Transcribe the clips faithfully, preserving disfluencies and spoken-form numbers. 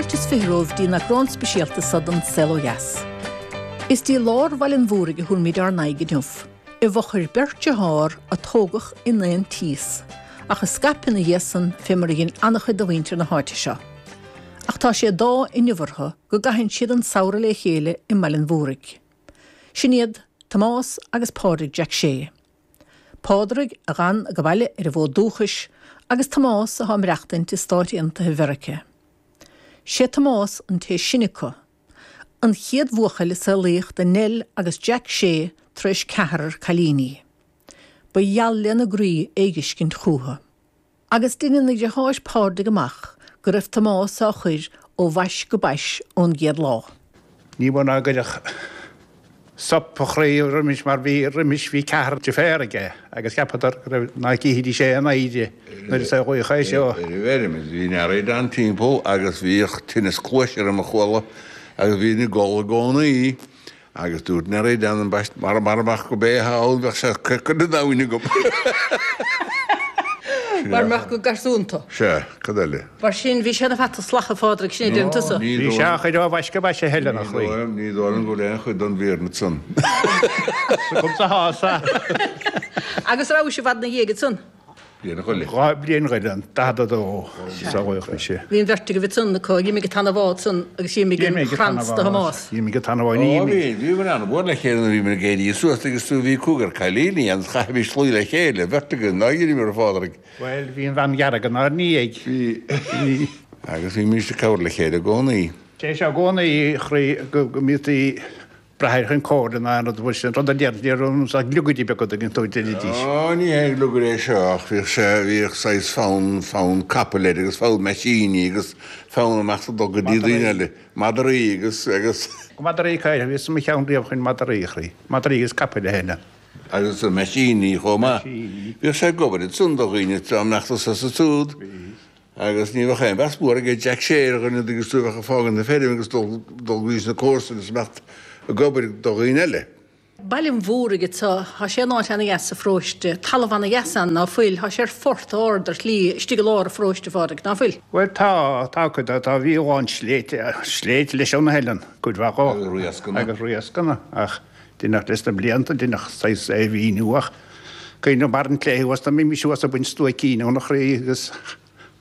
Fáilte is fiche romhaibh dtí an eagrán speisialta seo den Saol Ó Dheas. Is dtí lár Bhaile an Mhúraigh a thabharfaimid ár n-aghaidh inniu, i bhfochair beirt dearthár a tógadh in aon tíos, ach a scaip ina dhiaidh san fé mar a dhein an-chuid de mhuintir na háite seo. Ach tá sé d'ádh inniu orthu go gcaitheann siad an samhradh le chéile i mBaile an Mhúraigh. Sin iad Tomás agus Pádraig Jack Shea. Pádraig a d'fhan ag baile ar an bhfód dúchais agus Tomás atá ag maireachtaint i Stáit Aontaithe Mheiriceá. Sé Tomás an té is sine acu. An chéad bhuachaill a saolaíodh do Nell agus Jack Shea tar éis ceathrar cailíní. Ba gheal lena gcroí é a dh'fheiscint chucu. Agus deineann a dheartháir Pádraig amach go raibh Tomás á chur ó bhais go bais ón gcéad lá. Ní mó ná go gcuirfeadh sop a chroí roimis mar bhí roimis bhí ceathrar deirféar aige agus cheapadar go raibh ná cífidís é in oidhre nuair a saolaíodh é seo. Ar an bhfeirm bhí an earraí ann timpeall agus bhíodh tinneas cluaise orm a chuala agus bhínn ag gol i gcónaí agus dúirt Nearaí Dan ambaist mara mara mbeadh go bé thall bheadh sé curtha den abhainn agam. Mar mbeadh go garsúnta. Sea, cad eile? Mar sin bhí sé ina pheata salach ag Phádraig, sin é deireann tusa. Bhí sé á chur ó bhais go bais a Helen, a chroí. Ní dóigh liom go bhfuil aon chuid den bhfírinne san. S'agamsa thá, sea. Agus rabhais i bhfad ina dhiaidh ansan? Bliain a chuile. Dhá bliain chuile, an daichead a dó saolaíodh mise. Bhí an bheirt agaibh ansan acu, d'imigh an tAnna Bhá ansan agus d'imigh an Franz do Thomás. D'imigh an tAnna Bhá, ní imigh. Ó bhí, bhíomar an-mhór le chéile nuair a bhíomar ag éirí suas agus tú, bhí cúigear cailíní ann, chaithimis luí le chéile, bheirt againn, ná dheineamar a Phádraig. Bhuel, bhí an bhean dhearg inár ndiaidh. Bhí. Agus bhímís ag cabhrú le chéile i gcónaí. Sé seo i gcónaí, a chroí, go mbíodh braitheadh chun comhairle ná aon rud mar sin, rud a déarfainn, ní raibh ann ach gliogaidí beaga an dtuigeann tú, deinidís. Ó, ní haon gliogaire é seo ach bhíodh sé, bhíodh saghas fonn, fonn capaill air agus fonn meaisíní agus fonn amach sa dul go dtí daoine eile, madraí agus, agus. Madraí caortha, bhíos i mo cheann riamh chun madraí a chroí, madraí agus capaill a Helen. Agus na meaisíní chomh maith. Meaisíní. Bhíodh sé ag obair ansan do dhaoine tráth a mbeadh tusa sa tsúd. Bhí. Agus ní bheadh aon mheas mór aige Jack Shea ar dhuine agus tú a bheadh ag fágaint na feirme agus dul dul go dtí na comharsana is imeacht ag obair do dhaoine eile. Baile an Mhúraigh anseo, tá sé in áit ana-dheas sa pharóiste, talamh ana-dheas ann, ná fuil? Tá sé ar phort ard ar shlí istigh i lár an pharóiste, a Phádraig, ná fuil? Bhuel tá, tá cuid de, tá, bhí a lán sléibhte, sléibhte leis ann a Helen, cuid mhaith dhó. Agus riascanna. Agus riascanna, ach deineadh leis na blianta, deineadh saghas é a mhíniú ach cuimhneamh mar an clé thuas, dá mbeimis thuas ag baint stuaicín óna chroí agus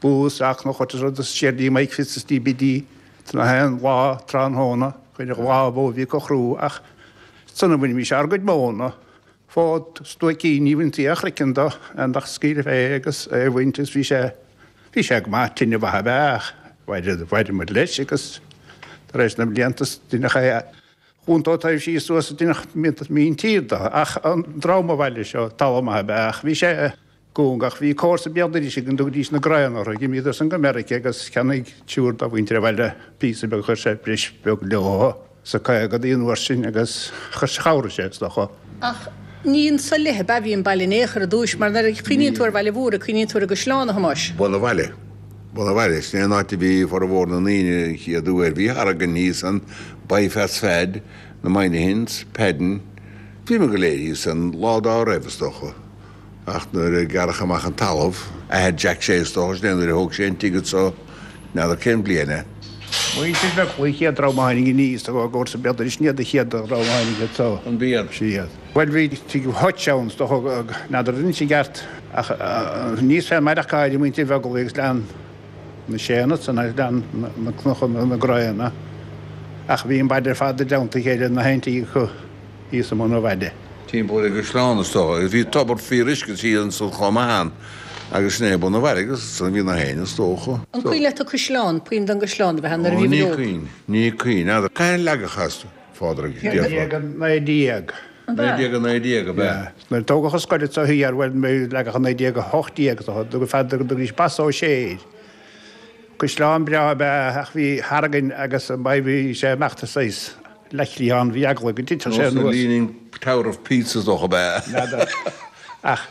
bús ach nó chuid rud is siar dtí Mike Fitz is dtí Biddy na haon lá tráthnóna chuir an lá bó bhí acu chrú ach san a bhainimis ár gcuid móna fód stuaicín ní bhaintí a chraiceann do an ach scaoileadh é agus é a bhaint agus bhí sé bhí sé go maith tine mhaith ab ea ach mhair muid leis agus tar éis na mblianta deineadh é a Chúntóir taobh síos suas deineadh míntír do ach an dream a bhaile seo talamh maith ab ea ach bhí sé cúng ach bhí comharsa béal dorais againn dtugaidís na Graíonna orthu d'imíodar san go Meiriceá agus cheannaigh triúr dá mhuintir an bhaile píosa beag chuir sé breis beag leo sa caogadaí an uair sin agus chuir chabhraigh sé is dócha. Ach ní anso i leith ab ea a bhí an baile in aon chor ar dtúis mar nuair a chuimhníonn tú ar Bhaile Mhúraigh cuimhníonn tú ar an gcaisleán a Thomáis. Bun an Bhaile. Bun an Bhaile, sin é an áit a bhí formhór na ndaoine an chéad uair. Bhí Harrigan thíos ann, Byfas Fad, na Moynihans, Padden. Bhíomar go léir thíos ann lá dá raibh, is dócha. Ach nuair a gearradh amach an talamh, athair Jack Shea, is dócha, sin é nuair a thóg sé an tigh anso, n'fheadar cén bhliain é. Muintir Bheaglaoich an chéad dream a tháinig aníos i gcomharsa béal dorais, sin iad an chéad dream a tháinig anso. An b'iad? Siad. Bhuel, bhí tigh Hutch ann, is dócha, n'fheadar anois i gceart, ach níos fearr maireachtáil ag muintir Bheaglaoich agus lean na Séanna san agus lean na cnochanna na Graíonna ach bhí an baile ar fad i dteannta a chéile na haon tigh acu thíos i mbun an bhaile. Timpeall ar an gcaisleán is dócha agus bhí tobar fíoruisce thiar ansan chomh maith ann agus sin é bun an bhaile agus ansan a bhí na héinne is dócha. An cuimhin leat an caisleán, puinn den gcaisleán a bheith ann nuair a Ó bhí ní muid óg? cuimhin, ní cuimhin, n'fheadar. Cathain a leagadh as, Phádraig, Naoi déag déarfá? a naoi déag. An ea? Naoi déag a naoi déag ab ea? Nuair a tógadh an scoil anso thiar, bhuel, leagadh i naoi déag a hocht déag is dócha, go fada go dtugaidís Bas Ó Sé air. Caisleán breá ab ea ach bhí Harrigan agus an bhí sé imeacht saghas leathchliathán, bhí eagla go dtitfeadh sé Nós an anuas. Leaning Tower of Pisa is dócha ab ea. N'fheadar. Ach.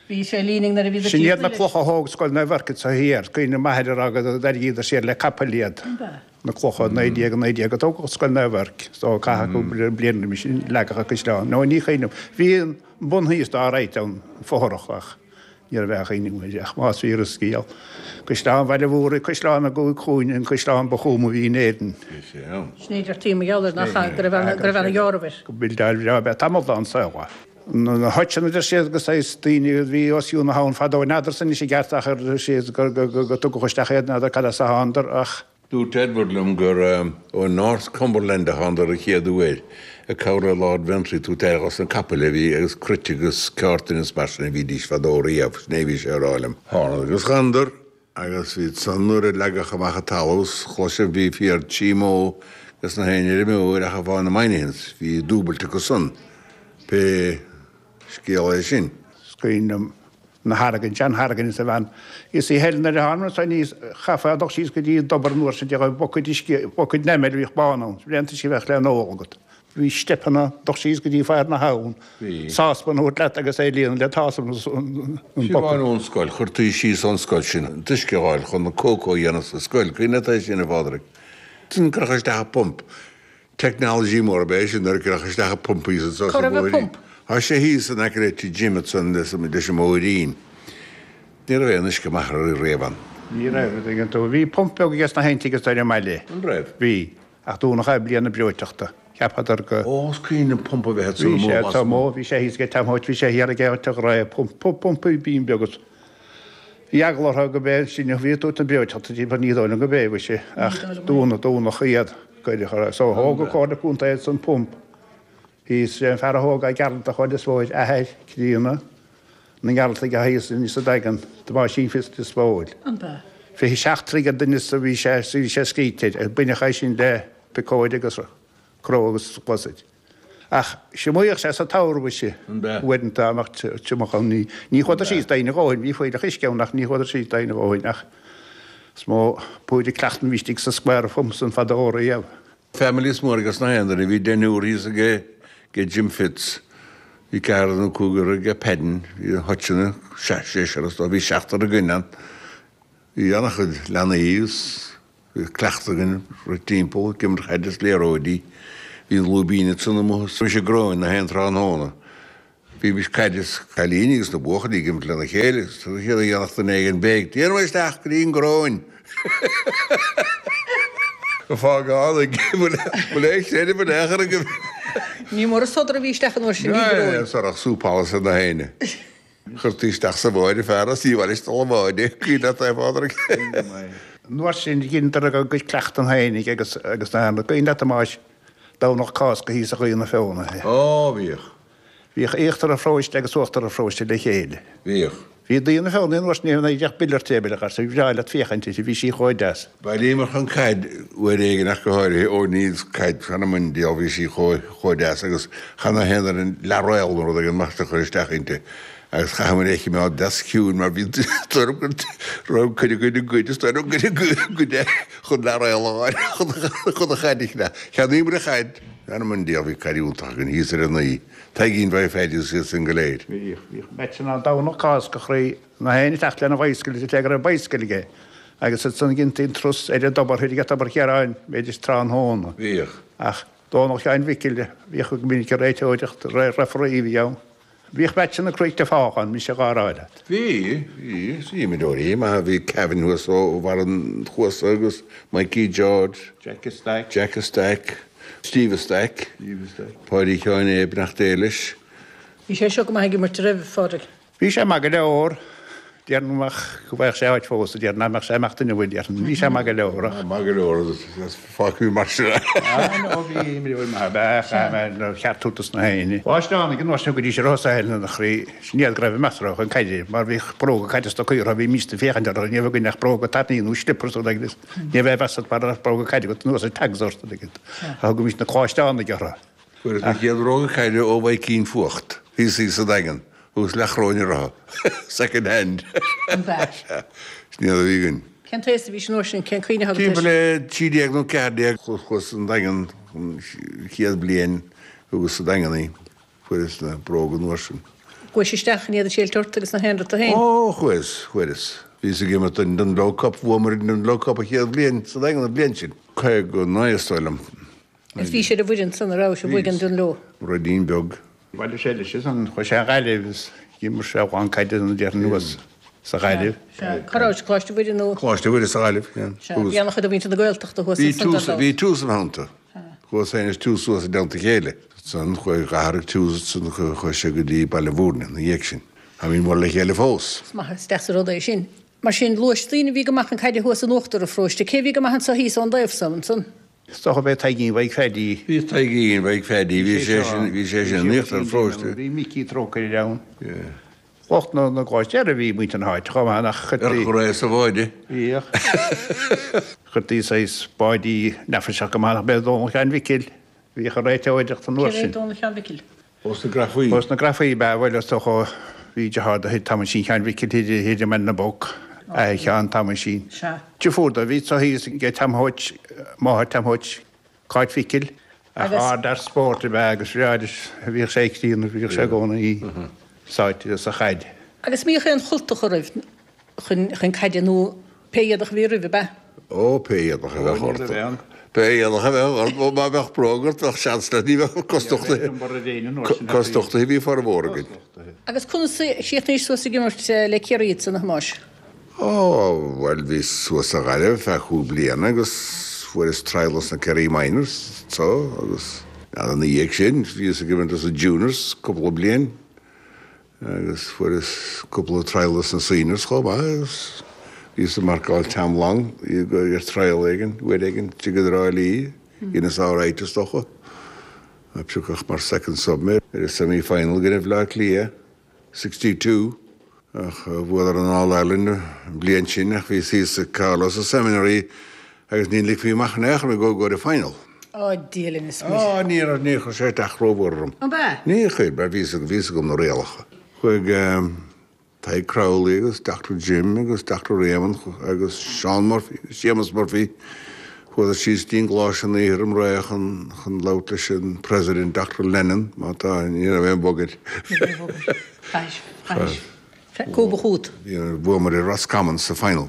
Bhí sé leaning nuair a bhí Sin iad na clocha a thóg Scoil Naomh Eirc anso thiar. Cuimhním m'athair ag rá go dtarraingíodar siar le capaill iad. Ab ea? Na clocha naoi déag a naoi déag a tógadh Scoil Naomh Eirc so caitheadh cúpla bliain roimis sin leagadh an caisleán. Nó ní chuimhním. Bhí an bun thíos dá right ann, fothrach ach Ní raibh aon chuimhne aige ach más fíor an scéal. Caisleán Bhaile Mhúraigh, caisleán na gcúig chúinne, an caisleán ba chúma a bhí in Éirinn. Bhí sé ann. Sin é deirtí mar gheall air nach ea, go raibh go raibh ana dheáramh air. Go buildeáil bhreá ab ea tamall dá saol é. Na háiteanna deir siad go saghas daoine a bhí os cionn na habhann fadó, n'fheadar-sa anois i gceart ach ar siad go go tugadh isteach iad, n'fheadar cad as a thánadar ach. Dúirt Edward liom gur ó North Cumberland a thánadar an chéad uair, ag cabhrú le Lord Ventry tabhairt aire dos na capaill a bhí agus cruit agus ceártain is mar sin a bhídís fadó riamh, sin é a bhí sé a rá liom. Thánadar agus ghanadar agus bhí san nuair a leagadh amach an talamh 's chloiseadh bhí fíor trí mó agus na haon fheirmeoir ach a bhá na Moynihans, bhí dúbailt acu san, pé scéal é sin. Is cuimhin liom na hargain, sean-hargain is a bhean. Is í Helen ar a tháinig anso aníos, chaithfeá dul síos go dtí an dtobar an uair sin de ghabh bucaid uisce, bucaid enamel a bhíodh bán ann, braon uisce a bheadh le n-ól agat. Bhí steipeanna dul síos go dtí far na habhann, sáspan a thabhairt leat agus é a líonadh le táspan an Fiú bucaid. amháin ón scoil, chuirtí síos ón scoil sin an t-uisce a fháil chun na cócó a dhéanamh sa scoil, cuimhin leat é sin, a Phádraig? Sin cuireadh isteach an pump. Technology mór ab ea é sin nuair a cuireadh isteach an pump thíos anso Cá sa raibh an bhóithrín. pump? Tá sé thíos in aice le tigh Jim ansan leis an mbóithrín. Ní raibh aon uisce maith riamh ann. Ní raibh, an dtuigeann tú. Bhí pump beag aige sna haon tigh is ar an mbaile. An raibh? Bhí, ach dúnadh é bliain na breoiteachta. Cheapadar go. Ó, is cuimhin liom pump a bheith ansan Bhí sé amuigh anso amuigh, bhí sé thíos ag Tom Hoyt, bhí sé thiar ag Áit a' Ghráig, pump, pump, pump, bín beag agus bhí eagla orthu go b'é sin a bhí ag tabhairt na breoiteachta di, ní dóigh liom go b'é, mhuise, ach dúnadh, dúnadh iad. Cuireadh, so thóg an Comhairle Contae ansan pump. Thíos sé an fear a thóg é Gearaltach ó Lios Póil, athair críonna na nGearaltaigh a thíos anois sa Daingean, Tomáisín Fitz Lios Póil. An b'ea? Fiche seacht troigh an doimhneas a bhí sé, bhí sé scríte air, baineadh é sin le piocóid agus cró agus glasaid. Ach thriomaíodh sé sa tsamhradh mhuise, An b'ea? uaireanta dá mbeadh triomach ann. Ní, ní chuadar síos doimhin a dhóthain, bhí fuílleach uisce ann ach ní chuadar síos doimhin a dhóthain ach is mó púir cleachtan a bhí istigh sa square phump san fadó riamh. Families mór ages na haon duine. Bhí deichniúr thíos aige ag Jim Fitz. Bhí ceathrar nó cúigear ag Padden. Bhí na háiteanna, seisear is dóigh, bhí seachtar againn ann. Bhí an-chuid leanaí agus bhí cleachtadh againn rith timpeall, ag imirt chaide is liathróidí. Bhí an lúibín ansan amuigh is bhí sé gróin na haon tráthnóna. Bhímis caid is cailíní agus na buachaillí ag imirt lena chéile agus an chéad a dhéanfadh duine éigin béic, Déanfaidh mé isteach go dtí an gcróin! Fágáil ag bhfuil aon chreideamh in aon chor agaibh. Ní mór an sodar a bhí isteach an uair sin i gcróin. Sodar súpála na héinne. Chuirtí isteach sa bhád fear as í bhaile isteach sa bhád é, cuimhin leat é, a Phádraig? An uair sin dheineadar a gcuid cleachtan féinig agus agus na cuimhin leat a Thomáis, Domhnach Cásca thíos a Ghaoth na Feothanaí. Ó, bhíodh. Bhíodh íochtar an pharóiste agus uachtar an pharóiste le chéile. Bhíodh. Bhí Daoine Feothanaí an uair sin ní bheadh buille ar tébile acu, bhí breá leat féachaint uirthi, bhí sí chomh deas. Bhailíomar chun caid uair éigin ach go háirithe, ó ní caid chan am an diabhal bhí sí chomh chomh deas agus chan na haon duine leath-réal nó rud éigin mar sin a chur isteach inti agus chaitheamar é a chimeád deas ciúin mar bhí tuairim go raibh cuid againn ag goid is tuairim go gcuid chun leath-réal a fháil chun an chaid a cheannach. Cheannaíomar an chaid, Anam an diabhal bhí caid iontach againn thíos ar an Naoi, Taidhgín Mhaigh Pheaidí agus iad sin go léir. Bhíodh, bhíodh meaitseanna ann Domhnach Cásca a chroí, na héinne ag teacht lena bhicycle is go raibh bicycle aige agus ansan dheintí an turas ar an dtobar thoir ag Tobar Chiaráin b'fhéidir tráthnóna. Bhíodh. Ach Domhnach Sheáin Mhicil bhíodh go minic ag réiteoireacht, referee a bhí ann. Bhíodh meaitseanna croíte fách ann, mise dhá rá leat. Bhí, bhí, bhí imreoirí maithe, bhí Kevin thuas ó bharr an chuasa agus Mikey George, Jack a Stack, Jack a Stack, Steve a Stack, Steve a Stack. Páidí Sheáin Abe, beannacht Dé leis. Bhí sé seo go maith ag imirt roimh, a Phádraig. Bhí sé maith go leor. Déarfainn go mbeadh, go bhfaigheadh sé áit fós, déarfainn nach mbeadh sé ag imeacht inniu, déarfainn. Bhí sé maith go leor ach. Maith go leor agus fágfaidh mar sin é. Ah no, bhí imreoir maith ab ea, chaith mé ar cheart tabhairt dos na héinne. Báisteánaigh an uair sin go dtí sé raibh saol ina chroí, sin iad go raibh meas orthu chun caide, mar bhíodh bróga caide stocaí orthu, bhí míosta féachaint orthu, ní raibh againn ach bróga tairní nó slippers nó agus ní raibh meas mar raibh bróga caide agat anuas ar tags ort agus thugaimís na coláisteánaigh orthu. Fuaireas mo chéad bhróga caide ó Mhaidhcín Fuacht, thíos thíos sa Daingean. Thuas leathchoróin orthu. Second hand. An b'ea? Sea. Sin iad a bhí againn. Cén t-aos a bhís an uair sin? Cén cuimhne atá agat air? Timpeall le trí déag nó ceathair déag. Chuas an Daingean an chéad bhliain thugas sa Daingean í. Fuaireas na bróga an uair sin. Chuais isteach in iad ag séilt ort agus na haon rud tú féin? Ó, chuas, chuireas. Bhíos ag imirt don Dungloe Cup, bhuamar an Dungloe Cup an chéad bhliain sa Daingean an bhliain sin. Caoga naoi is dóigh liom. Is bhís ar an bhfoireann san a rabhais a bhuaigh an Dungloe? Ruidín beag. Bhailigh sé leis ansan, chuaigh sé a Ghaillimh is d'imir sé a lán caide an déarfainn anuas. sa Ghaillimh. Sea. Cá raibh sé, Coláiste Mhuire nó? Coláiste Mhuire sa Ghaillimh, yeah. Sea. Bhí an-chuid de mhuintir na Gaeltachta thuas Bhí ansan tús, dar ndóigh. bhí Tús ina theannta. Chuas féin is Tús suas i dteannta a chéile. Ansan chuaigh d'athraigh Tús ansan chuaigh sé go dtí Baile Mhúirne ina dhiaidh sin. Táimid mór le chéile fós. Is maith, is deas an rud é sin. Mar sin, luais daoine a bhí go maith chun caide thuas in uachtar an pharóiste. Cé a bhí go maith anso thíos ón dtaobh so ansan? Is dócha b'é Taidhgín Mhaidhc Pheaidí. Bhí Taidhgín Mhaidhc Pheaidí, bhí sé sin, bhí sé sin in íochtar an pharóiste. Bhí Micí Trócaire ann. Lucht na na gcoláistí eile bhí muintir na háite chomh maith nach Ar chuirtí. chur sa bháide. Bhíodh. Chuirtí saghas báidí neafaiseach go maith nach b'é Dónal Sheáin Mhicil. Bhíodh ag réiteoireacht an uair Cé hé sin. Dónal Sheáin Mhicil? Ós na Grafaí. Ós na Grafaí ab ea, bhuel is dócha bhí deartháir de chuid Thomaisín Sheáin Mhicil thiar thiar i mBaile na bPoc, athair Sheáin Thomaisín. Sea. Deirfiúr dó a bhí anso thíos ag Tom Thoit, máthair Tom Thoit, Cáit Mhicil. Ach Agus. ardfhear spóirt ab ea agus bhreá leis, bhíodh sé críonna, bhíodh sé i gcónaí sáite sa chaid. Agus mbíodh aon chultacha roimh chun chun caide nó pé éadach a bhí roimh, ab ea? Ó, pé éadach a bheadh ort. Pé éadach a bheadh ort, má bheadh bróg ort, bheadh seans leat, ní bheadh cosdachtaithe. Cosdachtaithe bhí formhór againn. Agus conas a chríochnaís suas ag imirt le Ciarraí ansan, a Thomáis? Ó, bhuel, bhíos suas sa Ghaillimh feadh cúig bliana agus fuaireas trial sna Kerry Minors so agus ina dhiaidh sin bhíos ag imirt sna Juniors cúpla bliain agus fuaireas cúpla trial sna Seniors chomh maith agus bhíos ag marcáil Tam Long ar trial éigin, uair éigin, istigh i dTrá Lí, dheineas alright is dócha. Piocadh mar second sub mé ar an semi-final i gcoinne Bhaile Átha Cliath, sixty two. Ach bhuadar an All Ireland an bliain sin ach bhíos thíos i Carlow sa Seminary agus ní ligfí amach in aon chor mé go go dtí final. Ó Dia linn is muire. Á ní raibh níor chuir sé isteach rómhór orm. Ab ea? Níor chuir, mar bhíos bhíos agam na rialacha. Chuaigh Tadhg Crowley agus Doctor Jim agus Doctor Raymond agus Seán Murphy, Séamus Murphy, chuadar síos dtí an gColáiste an oíche roimh ré chun chun labhairt leis an President Doctor Lennon, má tá, ní raibh aon bhagairt. Ní raibh aon bhagairt. Chaithis, chaithis. Cúba chút. Bhuamar ar Roscommon sa final.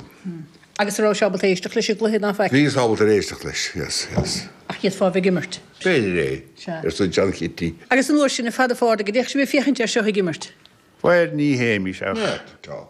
Agus an rabhais ábalta éisteacht leis an gcluiche ná faic? Bhíos ábalta éisteacht leis, yes, yes. Ach d'fhéadfá a bheith ag imirt. B'fhéidir é, Sea. arsa John Chitty. Agus an uair sin, a Phada Phádraig, an dtéadh sibh ag féachaint air seo ag imirt? Bhuel, ní théimis ach. Tá.